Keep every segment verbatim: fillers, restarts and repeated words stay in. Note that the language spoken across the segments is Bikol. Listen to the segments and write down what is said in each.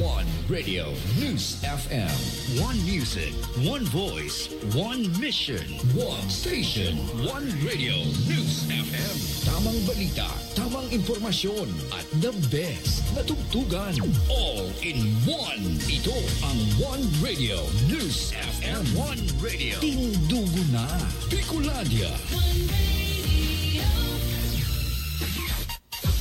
One Radio News F M. One music, one voice, one mission. One station, one radio. News F M. Tamang balita, tamang impormasyon, at the best na tugtugan. All in one. Ito ang One Radio News F M. One Radio. Tindugo na. Bicolandia. One Radio.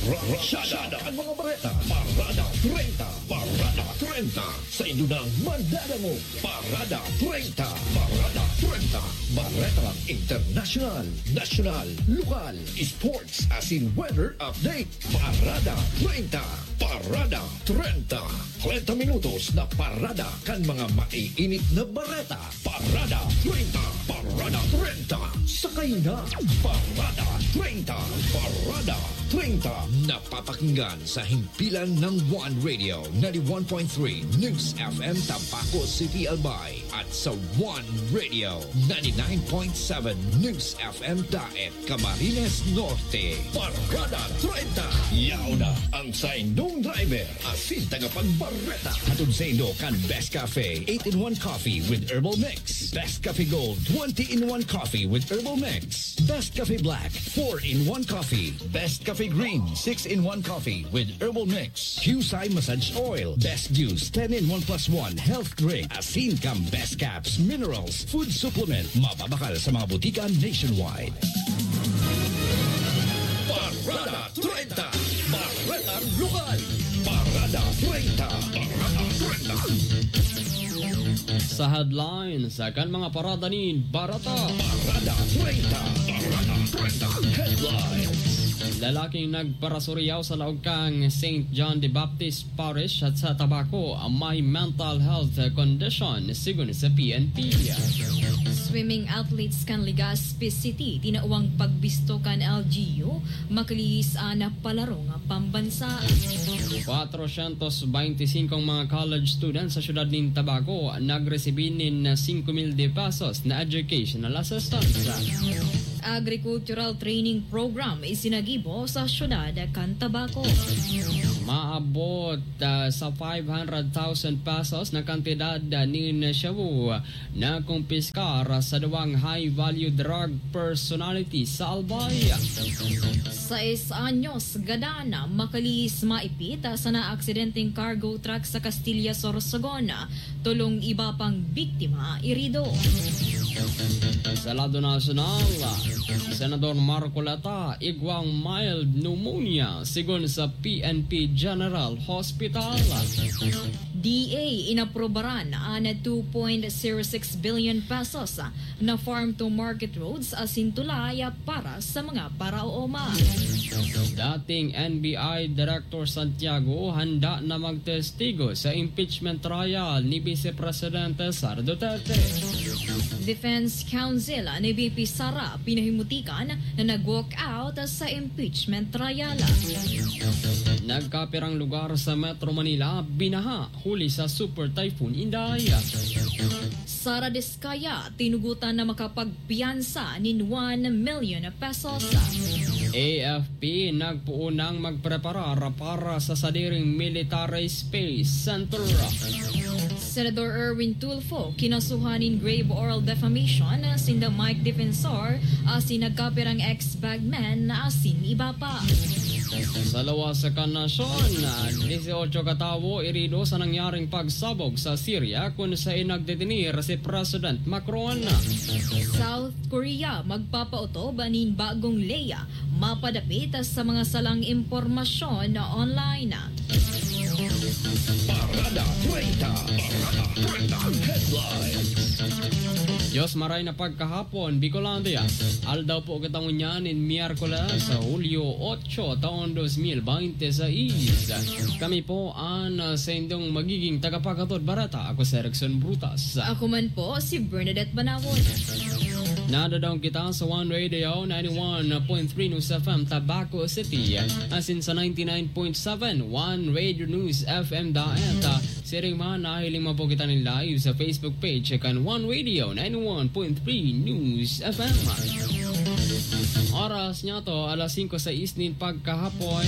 Rasyada ang mga bareta. Parada treinta. Parada treinta. Sa inyo nang madadangog. Parada treinta. Parada treinta. Baretang internasyonal, nasyonal, lokal, sports, asin weather update. Parada treinta. Parada treinta. Treinta minutos na parada kan mga maiinit na bareta. Parada treinta. Parada treinta. Sakay na. Parada treinta. Parada treinta. Napapakinggan sa himpilan ng One Radio ninety-one point three News F M Tabaco City, Albay, at sa One Radio ninety-nine point seven News F M Daet, Camarines Norte. Parada treinta. Yaon na ang saindong driver asin tagapagbareta. Hatod saindo kan Best Cafe eight-in-one Coffee with Herbal Mix, Best Cafe Gold twenty-in-one Coffee with Herbal Mix, Best Cafe Black four-in-one Coffee, Best Cafe Green six-in-one Coffee with Herbal Mix, Qcye Massage Oil, Best Juice ten-in-one plus one Health Drink, asin kan Best Caps Minerals Food Supplement. Mababakal sa mga butika nationwide. Parada treinta. Parada Lokal. Parada treinta. Parada treinta. Sa headlines, kan mga parada nin bareta. Parada treinta. Parada treinta. Headlines. Lalaking nagparasuriyaw sa laog kan Saint John the Baptist Parish at sa Tabaco may mental health condition, sigon sa P N P. Swimming athletes kan Legazpi City tinawang pagbisto kan L G U, makalihis an palarong pambansa. Kwatrosyentos beintisinko mga college students sa siyudad nin Tabaco nagresibi nin singko mil de pesos na educational assistance. Agricultural Training Program isinagibo sa siyudad kan Tabaco. Maabot, ah, sa five hundred thousand pesos na kantidad, ah, nin shabu na kumpiskar sa duwang high-value drug personality sa Albay. Sais anyos gadan, makalihis maipit sa naaksidenteng cargo truck sa Castilla, Sorsogon. Tolong iba pang biktima irido. Sa lado nasyonal, Senador Marcoleta igwang mild pneumonia, sigon sa P N P General Hospital. D A inaprobaran an two point zero six billion pesos na farm to market roads asin tulay para sa mga paraoma. Dating N B I Director Santiago handa na magtestigo sa impeachment trial ni Vice Presidente Sara Duterte. Defense Counsel ni V P Sara pinahimutikan na nag-walk out sa impeachment trial. Nagkapirang lugar sa Metro Manila binaha huli sa Super Typhoon Inday. Sara Diskaya tinugotan na makapagpiyansa nin one million pesos. A F P nagpoon nang magpreparar para sa sadiring military space center. Senador Erwin Tulfo kinasuhan nin grave oral defamation sinda Mike Defensor asin nagkapirang ex-bagman asin iba pa. Sa lawas kan nasyon, dieciocho ka tawo irido sa nangyaring pagsabog sa Syria kun saen nagdetenir si President Macron. South Korea magpapautob nin bagong ley mapadapit sa mga salang impormasyon online. Parada treinta. Parada treinta. Headlines. Diyos maray na pagkahapon, Bicolandia. Aldaw po kita ngunyan nin Miyerkules, Hulyo otso, taon dos mil bente seis. Kami po an, ah, saindong magiging tagapaghatod bareta. Ako si Erickson Brutas. Ako man po, si Bernadette Banawon. Nadadaong kita sa One Radio ninety-one point three News F M Tabaco City, asin sa ninety-nine point seven One Radio News F M Daet. Siring man, nahiling man po kita nin live sa Facebook page kan One Radio ninety-one point three News F M. Oras niya to, alas singko sais nin pagkahapon.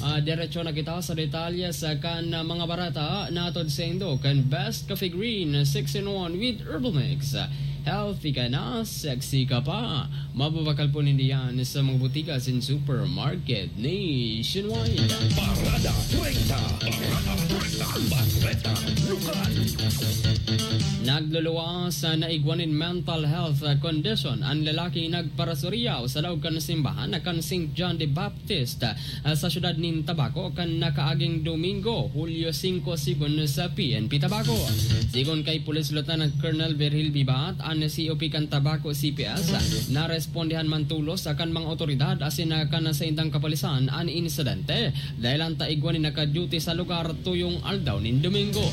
Ah, diretso na kita sa detalye sa kan, ah, mga bareta na atod saindo kan Best Coffee Green six in one with Herbal Mix. Healthy ka na, sexy ka pa. Mababakal po ninda yan sa mga butika sin supermarket nationwide. Parada treinta. Parada treinta. Bareta Lokal. Nagluluwas sa naigwa nin mental health condition an lalaki nagparasuriyaw sa laog kan simbahan na kan Saint John the Baptist, ah, sa siyudad nin Tabaco kan nakaaging Domingo, Hulyo singko, sigon sa P N P Tabaco. Sigon kay Police Lieutenant Colonel Virgil Bibat, an C O P kan Tabaco C P S, narespondihan man tolos kan mga otoridad asin kan saindang kapulisan an insidente. Dahil an taigwa nin naka-duty sa lugar tuyong aldaw nin Domingo.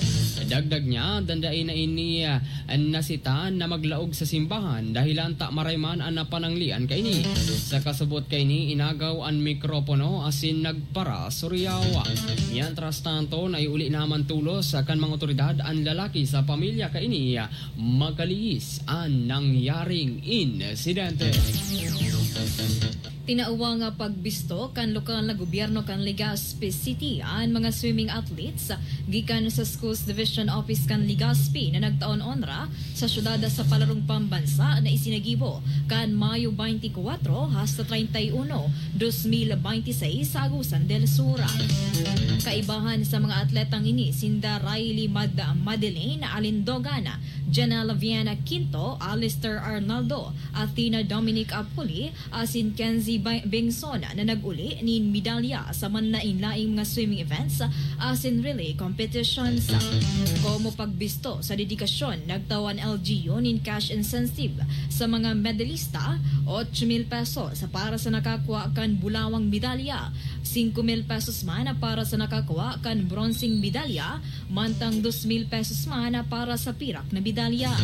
Dagdag niya, dandain na ini, ah, nasita na maglaog sa simbahan, dahilan ta maray man an pananglian kaini. Sa kasubot kaini, inagaw an mikropono asin nagparasuriyaw. Mientras tanto, naiuli naman tolos kan mga otoridad an lalaki sa pamilya kaini. Makalihis an nangyaring insidente. Tinawan nga pagbisto kan lokal na gobyerno kan Legazpi City an mga swimming athletes gikan sa Schools Division Office kan Legazpi na nagtaon onra sa syudad sa palarong pambansa na isinagibo kan Mayo twenty-four hasta treinta y uno, dos mil bente y seis sa Agusan del Sur. Kaibahan sa mga atletang ini, sinda Riley Mad-, Madeline Alindogan, Janelle Viana Quinto, Alistair Arnaldo, Athena Dominic Apuli, asin Kenzie Ba-, Bengson na nag-uli nin medalya sa manlaen-laeng mga swimming events asin relay competitions. Komo pagbisto sa dedikasyon, nagtawan L G U nin cash incentive sa mga medalista, ocho mil pesos para sa nakakua kan bulawang medalya, singko mil pesos man para sa nakakua kan bronseng medalya, mantang dos mil pesos man para sa pirak na medalya.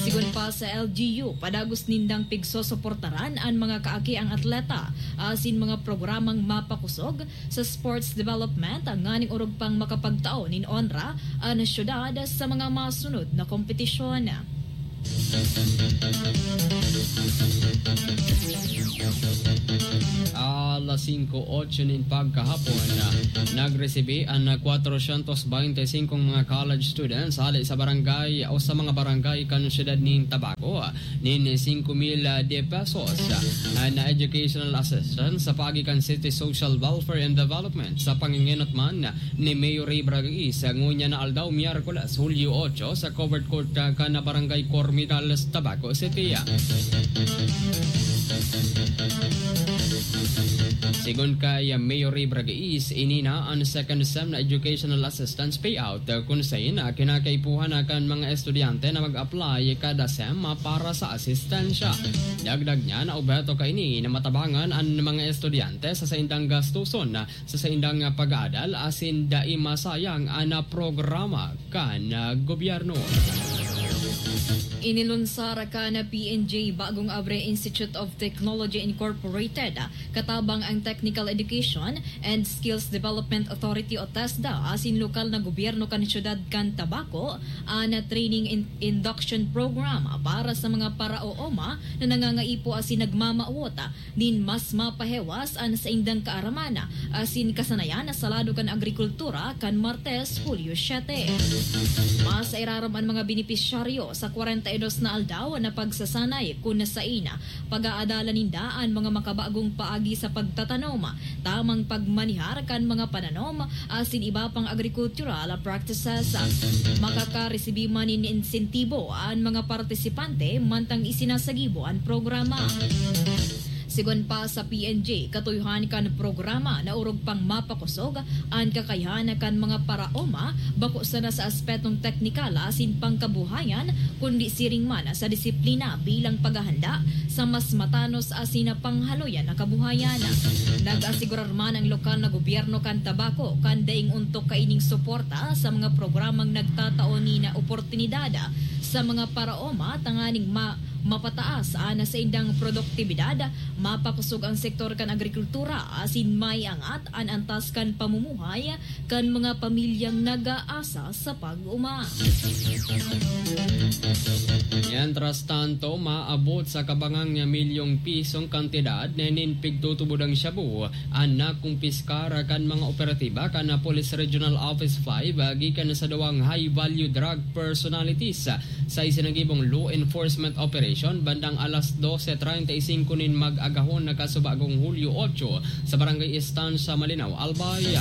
Sigon pa sa L G U, padagos nindang pigsosoportaran an mga kaakiang atleta asin mga programang mapakosog sa sports development nganing orog pang makapagtao nin onra an syudad sa mga masunod na kompetisyon. Alas singko otso nin pagkahapon, nagresibi an kwatrosyentos bente y singko mga college students hali sa barangay o sa mga barangay kan siyudad nin Tabaco nin singko mil de pesos na educational assistance sa paagi kan City Social Welfare and Development sa pangingenot man ni Mayor Ray Bragais ngunyan na aldaw, Miyerkules, Hulyo otso, sa covered court, ah, kan Barangay Cormidales, Tabaco City. Sigon kay Mayor Ray Bragais, ini na an second sem na educational assistance payout, ah, kun sain, ah, kinakaipuhan na kan mga estudyante na mag-apply kada sem, ah, para sa asistensya. Dagdag niya na obheto kaini na matabangan an mga estudyante sa saindang gastuson, ah, sa saindang pag-aadal asin dai masayang an programa kan gobyerno. Inilunsar kan P N J Bagong Abre Institute of Technology Incorporated, katabang ang Technical Education and Skills Development Authority o TESDA asin lokal na gobyerno kan siyudad kan Tabaco, an training in-, induction program para sa mga paraooma na nangangaipo asin nagmamawot nin mas mapahewas an saindang kaaraman asin kasanayan sa lado kan agrikultura kan Martes, Hulyo siyete. Mas irarom an mga benepisyaryo sa kwarenta y dos na aldaw na pagsasanay kun sain pag-aadalan ninda an mga makabagong paagi sa pagtatanom, tamang pagmanihar kan mga pananom, asin iba pang agrikultural practices. Makakaresibi man nin insentibo an mga partisipante mantang isinasagibo an programa. Sigon pa sa P N J, katuyohan kan programa na orog pang mapakosog an kakayahan kan mga paraoma, bako sana sa aspetong teknikal asin pangkabuhayan, kundi siring man sa disiplina bilang paghahanda sa mas matanos asin panghaloyan na kabuhayan. Nag-asigurar man ang lokal na gobyerno kan Tabaco kan daing ontok kaining suporta sa mga programang nagtatao nin oportunidad sa mga paraoma tanganing ma-, mapataas an saindang produktibidad, mapakosog ang sektor kan agrikultura, asin maiangat an antas kan pamumuhay kan mga pamilyang nag-aasa sa pag-uma. Mientras tanto, maabot sa kabangang milyong pisong kantidad nin pigtutubod ang shabu an nakumpiskar kan mga operatiba kan Police Regional Office five gikan sa duwang high-value drug personalities. Sa isinagibong law enforcement operation, bandang alas dose treinta y cinco nin mag-agahon na kasubagong Hulyo otso, sa Barangay Estancia, Malinao, Albay.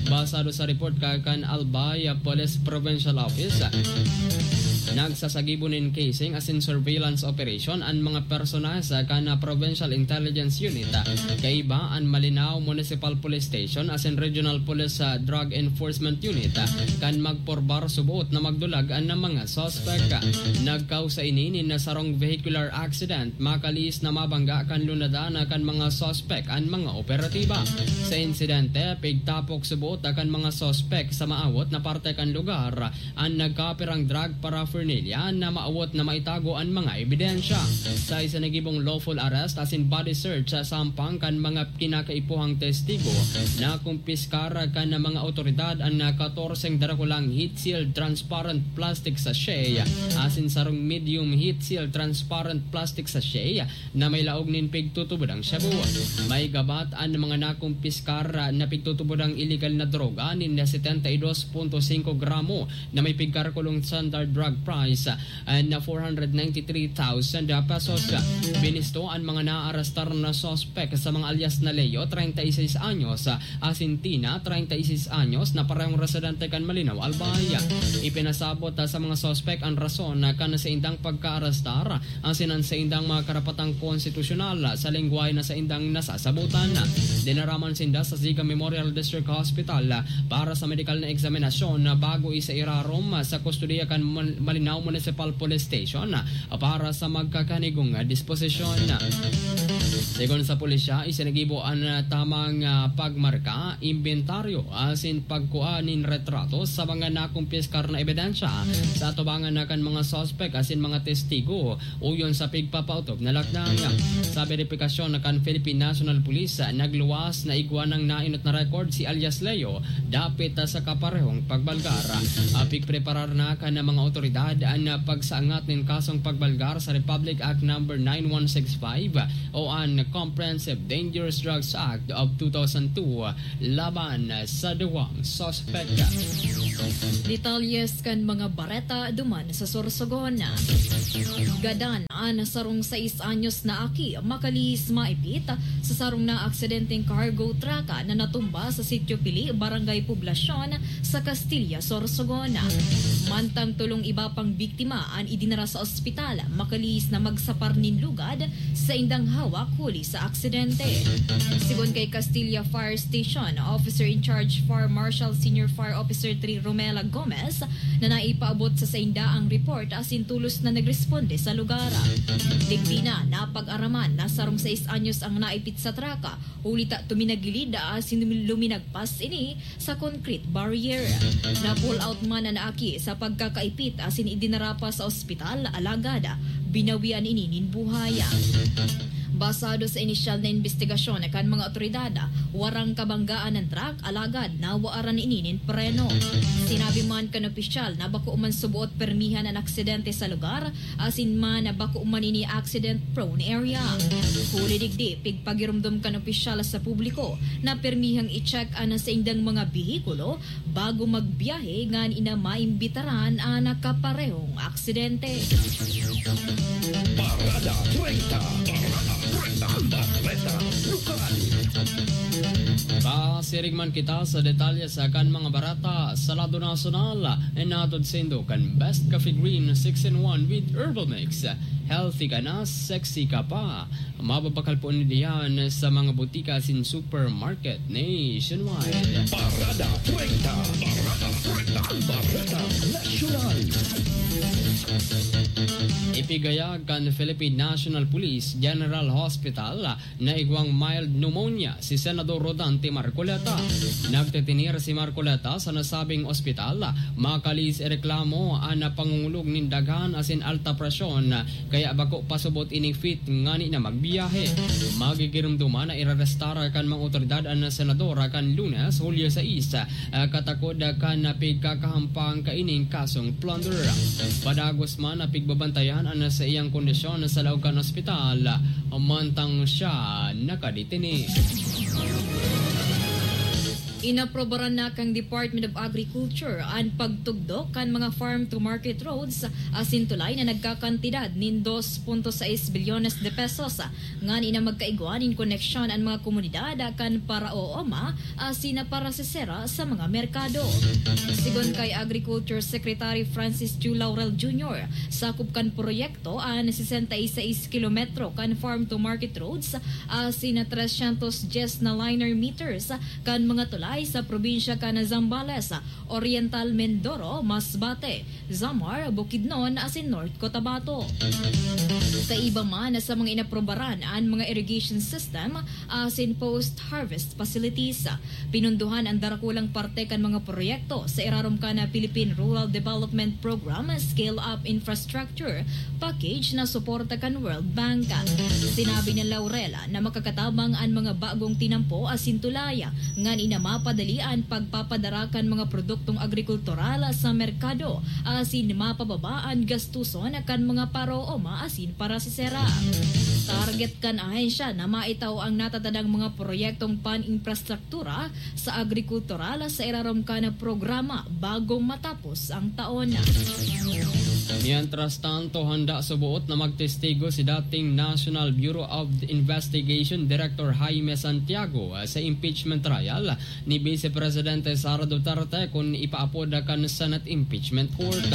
Basado sa report ka kan Albay Police Provincial Office, nagsasagibo nin casing asin surveillance operation an mga personahe kan Provincial Intelligence Unit, kaiba an Malinao Municipal Police Station asin Regional Police, ah, Drug Enforcement Unit, ah, kan magporbar suboot na magdulag an mga suspek. Nagkausa ini nin sarong vehicular accident, makalihis na mabangga kan lunadan kan mga suspek an mga operatiba. Sa insidente, pigtapok suboot kan mga suspek sa maawot na parte kan lugar an nagkapirang drug paraphernalia na maawot na maitago an mga ebidensya. Sa isinagibong lawful arrest asin body search sa sampang kan mga kinakaipuhang testigo, nakumpiskar kan mga otoridad an katorseng darakulang heat-sealed transparent plastic sachet asin sarong medium heat-sealed transparent plastic sachet na may laog nin pigtutubodang shabu. May gabat an mga nakumpiskar na pigtutubodang iligal na droga nin setenta y dos punto singko gramo na may pigkarakulong standard drug price, ah, na four hundred ninety-three thousand pesos. Binisto an mga naarestar na suspek sa mga alias na Leo, treinta y seis anyos, ah, asin Tina, treinta y seis anyos, na parehong residente kan Malinao, Albay. Ipinasabot, ah, sa mga suspek an rason na kan saindang pagkaarestar asin an saindang mga karapatang konstitusyonal sa lengwahe na saindang nasasabotan. Dinaraman sinda sa Ziga Memorial District Hospital para sa medikal na eksaminasyon bago isairarom sa kustodiya kan Mal-, Malinao Municipal Police Station para sa magkakanigong disposisyon. Segun sa pulisya, isinagibo an tamang, ah, pagmarka, imbentaryo asin pagkua nin retrato sa mga nakumpiskar na ebidensya sa atubangan na kan mga suspek asin mga testigo uyon sa pigpapaotob na lakdang. Sa beripikasyon na kan Philippine National Police, nagluwas na igwa nang nainot na record si alias Leo dapit sa kaparehong pagbalgar. Ah, pigpreparar na kan mga otoridad an pagsaangat nin kasong pagbalgar sa Republic Act Number nine one six five o an Comprehensive Dangerous Drugs Act of two thousand two laban sa duwang suspek. Detalyes kan mga bareta duman sa Sorsogon. Gadan an sarong sais anyos na aki makalihis maipit sa sarong naaksidenteng cargo truck na natumba sa Sitio Pili, Barangay Poblacion, sa Castilla, Sorsogon. Mantang tolong iba pang biktima an idinara sa ospital, makalihis na magsapar nin lugad saindang hawak huli sa aksidente. Sigon kay Castilla Fire Station Officer in Charge Fire Marshal Senior Fire Officer three Romela Gomez, na naipaabot sa sainda ang report asin tolos na nagresponde sa lugar. Digdi na napag-araman na sarong sais anyos ang naipit sa traka, huli ta tuminagilid asin luminagpas ini sa concrete barrier. Na-pull out man an aki sa pagkakaipit asin idinara pa sa ospital, alagad binawian ini nin buhay. Basado sa inisyal na imbestigasyon kan mga otoridad, warang kabanggaan an truck, alagad nawaaran ini nin preno. Sinabi man kan opisyal na bako man suboot permihan an aksidente sa lugar, asin man bako man ini accident-prone area. Huli digdi, pigpagiromdom kan opisyal sa publiko na permihang i-check an saindang mga behikulo bago magbiyahe ngani na maimbitaran an kaparehong aksidente. Parada treinta. Parada treinta. Bareta Lokal. Pasiring man kita sa detalye sa kan mga bareta sa lado nasyonal. Inatod saindo kan Best Coffee Green six in one with Herbal Mix. Healthy ka na, sexy ka pa. Mababakal po niyan sa mga butika asin supermarket nationwide. Parada treinta. Parada treinta. Bareta Nasyonal. Igayag kan Philippine National Police General Hospital na igwang mild pneumonia si Senador Rodante Marcoleta. Nagtitinir si Marcoleta sa nasabing ospital, makalis ireklamo an pangungulog nin daghan asin alta presyon, kaya bako pasubot ini fit ngani na magbiyahe. Magigiromdoman na irarestar kan mga otoridad an senador kan Lunes, Hulyo sais, ah, katakod kan pigkakahampang kaining kasong plunder. Padagos man na pigbabantayan an saiyang kondisyon sa laog kan ospital, mantang siya nakadetene. Inaprobaran na kan Department of Agriculture an pagtugdok kan mga farm-to-market roads asin tulay na nagkakantidad nin dos punto sais bilyones de pesos, ngani na magkaigwa nin koneksyon an mga komunidad kan paraooma asin parasesera sa mga merkado. Sigon kay Agriculture Secretary Francis Chu Laurel Junior, sakop kan proyekto an sesenta y seis kilometro kan farm-to-market roads asin trescientos dies na liner meters kan mga tulay sa probinsya kan Zambales, Oriental Mindoro, Masbate, Samar, Bukidnon asin North Cotabato. Kaiba man sa mga inaprobaran an mga irrigation system asin post-harvest facilities. Pinundohan an darakulang parte kan mga proyekto sa irarom kan Philippine Rural Development Program Scale Up Infrastructure Package na suporta kan World Bank. Sinabi ni Laurel na makakatabang an mga bagong tinampo asin tulay ngani na mapadali an pagpapadara kan mga produktong agrikultural sa merkado asin mapababa an gastuson kan mga parooma asin parasesera. Target kan ahensya na maitao ang natatadang mga proyektong pan-infrastruktura sa agrikultural sa irarom kan programa bago matapos ang taon. Mientras tanto, handa suboot na magtestigo si dating National Bureau of Investigation Director Jaime Santiago sa impeachment trial ni Vice Presidente Sara Duterte kun ipaapod kan Senate Impeachment Court.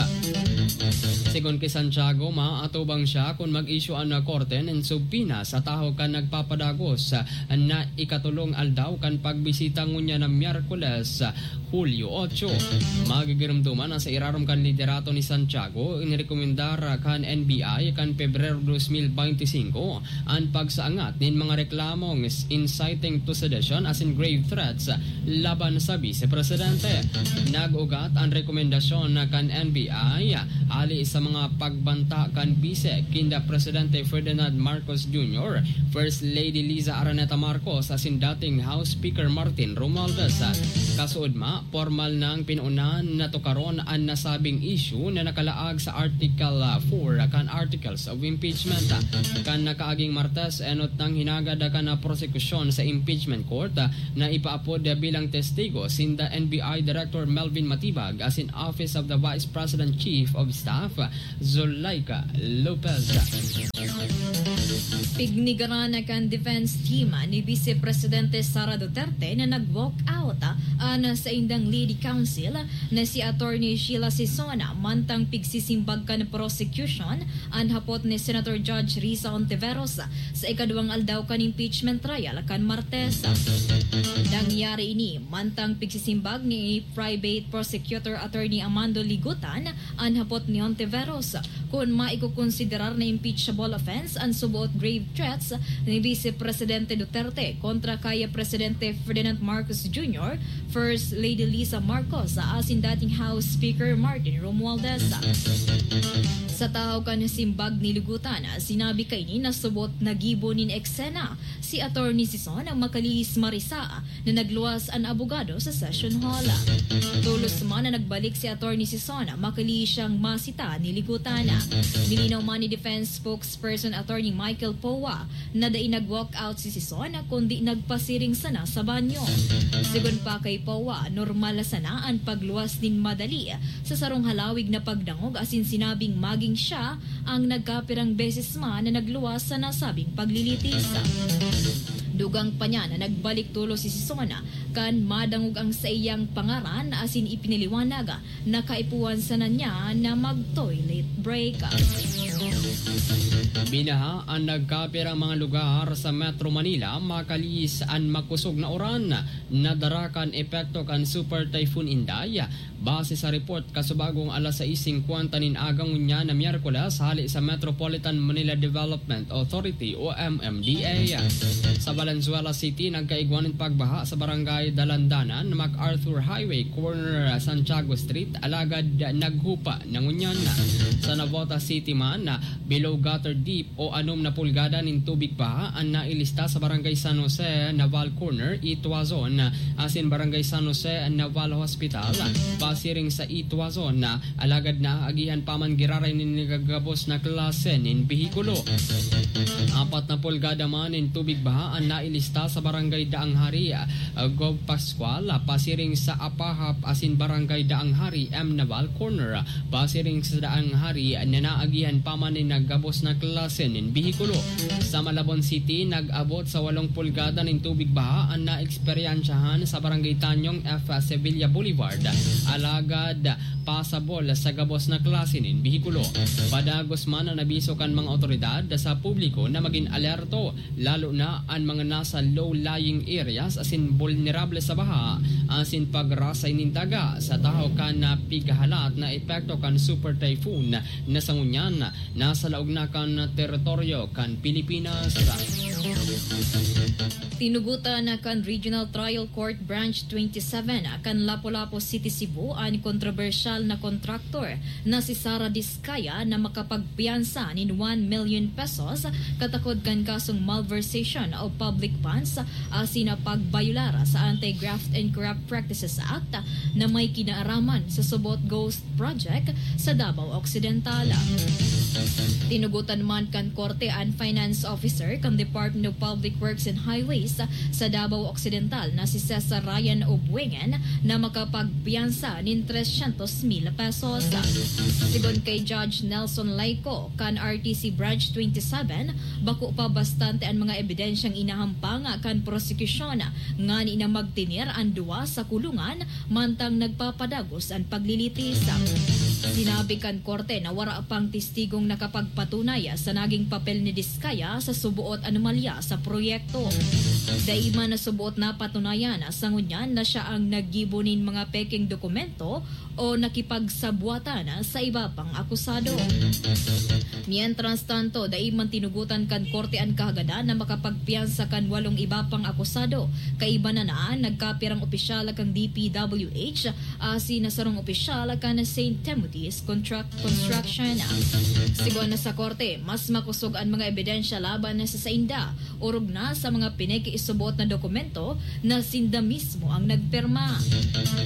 Sigon ki Santiago, maatubang siya kun mag-issue an korte nin subpoena sa tawo kan nagpapadagos na ikatolong aldaw kan pagbisita ngunyan na Miyerkules, Hulyo otso. Magigiromdoman na sa irarom kan liderato ni Santiago, inrekomendar kan N B I kan Pebrero dos mil beinti singko an pagsaangat nin mga reklamong inciting to sedition asin grave threats laban sa Vice Presidente. Nag-ugat an rekomendasyon kan N B I ali sa mga pagbanta kan Vice kinda Presidente Ferdinand Marcos Junior, First Lady Liza Araneta Marcos asin dating House Speaker Martin Romualdez. Kasuodma, pormal nang pinaunan na tukaron an nasabing issue na nakalaag sa Article, ah, four kan Articles of Impeachment. Kan nakaaging Martes, enot nang hinagad kan prosekusyon sa impeachment court na ipaapod bilang testigo sinda N B I Director Melvin Matibag asin Office of the Vice President Chief of Staff Zulaika Lopez. Pignigaran na kan defense team ni Vice Presidente Sara Duterte na nag-walk out an saindang lead counsel na si Attorney Sheila Sison, mantang pigsisimbag kan prosecution an hapot ni Senator Judge Risa Ontiveros sa ikaduwang aldaw kan impeachment trial kan Martes. Nangyari ini mantang pigsisimbag ni Private Prosecutor Attorney Amando Ligutan an hapot ni Ontiveros kun maikokonsiderar na impeachable offense an suboot grave threats ni Vice Presidente Duterte kontra kay Presidente Ferdinand Marcos Junior, First Lady Liza Marcos asin dating House Speaker Martin Romualdez. Sa tahaw kan simbag ni Ligutan, sinabi kaini na suboot na gibo nin eksena si Attorney Sison Macalis Marisa na nagluwas an abogado sa session hall. Tolos man na nagbalik si Attorney Sison, makali siyang masita ni Ligutan. Nilinaw man ni Defense Spokesperson Attorney Michael Poa na dai nag-walk out si Sison kundi nagpasiring sana sa banyo. Sigon pa kay Poa, normal na sana an pagluwas nin madali sa sarong halawig na pagdangog asin sinabing maging siya ang nagkapirang beses man na nagluwas sa nasabing paglilitis. Dugang pa niya na nagbalik tolos si Sison kan madangog ang saiyang pangaran asin ipinaliwanag na kaipuhan sana niya na mag-toilet break. Binaha an nagkapirang mga lugar sa Metro Manila, makalihis an makusog na uran na dara kan epekto kan Super Typhoon Inday. Base sa report, kasubagong alas sais singkwenta nin aga ngunyan na Miyerkules, hale sa Metropolitan Manila Development Authority o M M D A. Sa Valenzuela City, nagkaigwa nin pagbaha sa barangay Dalandanan, MacArthur Highway, corner Santiago Street, alagad naghupa na ngunyan. Sa Navotas City man, below gutter deep o anom na pulgada nin tubig baha an nailista sa Barangay San Jose, Naval Corner, Ituazon, asin Barangay San Jose, Naval Hospital, pasiring sa Ituazon, alagad naagihan pa man giraray nin nagagabos na klase nin behikulo. Apat na pulgada man nin tubig baha an nailista sa Barangay Daang Hari, Gov Pascual, pasiring sa Apahap asin Barangay Daang Hari, M Naval Corner, pasiring sa Daang Hari na naagihan pa man nin nagabos na klase nin behikulo. Sa Malabon City, nag-abot sa walong pulgada nin tubig baha an naeksperyensyahan sa Barangay Tanyong F Sevilla Boulevard, alagad pasabol sa gabos na klase nin behikulo. Padagos man an abiso kan mga otoridad sa publiko na magin alerto, lalo na an mga nasa low-lying areas asin bulnerable sa baha asin pagrasay nin daga sa tahaw kan pighahalat na epekto kan Super Typhoon na sa ngunyan nasa laog na kan teritoryo kan Pilipinas. Tinugotan na kan Regional Trial Court Branch twenty-seven kan Lapu-Lapu City, Cebu, an kontrobersyal na kontraktor na si Sara Discaya na makapagpiyansa nin one million pesos katakod kan kasong malversation of public funds asin pagbayolar sa Anti-Graft and Corrupt Practices Act na may kinaaraman sa Subot Ghost Project sa Davao Occidental. Tinugotan man kan korte an finance officer kan Department of Public Works and Highways sa Davao Occidental na si Cesar Ryan Obuengen na makapagpiyansa nin tresyentos mil pesos. Sigon kay Judge Nelson Laico kan R T C Branch twenty-seven, bako pa bastante an mga ebidensyang inahampang kan prosekusyon ngani na magtener an duwa sa kulungan mantang nagpapadagos an paglilitis. Sinabi kan korte na wara pang testigong nakapagpatunay sa naging papel ni Discaya sa suboot anomalya sa proyekto. Dai man na suboot napatunayan sa ngunyan na siya ang naggibo nin mga pekeng dokumento o nakipagsabwatan sa iba pang akusado. Mientras tanto, dai man tinugotan kan korte an kahagadan na makapagpiyansa kan walong iba pang akusado, kaiba na na an nagkapirang opisyal kan D P W H asin na sarong opisyal kan Saint Timothy's Contract Construction. Sigon na sa korte, mas makosog an mga ebidensya laban na sa sainda, orog na sa mga pinakiisubot na dokumento na sinda mismo ang nagpirma.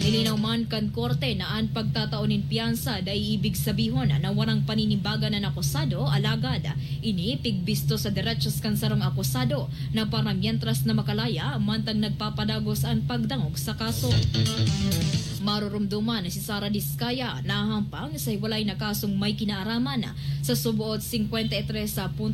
Nilinaw man kan korte na an pagtatao nin piyansa dai ibig sabihon na warang paninimbagan an akusado, alagad ini pigbisto sa derechos kan sarong akusado na para mientras na makalaya mantang nagpapadagos an pagdangog sa kaso. Marurumduman na si Sara Discaya nahahampang sa hiwalay na kasong may kinaaraman sa suboot singkwenta y tres punto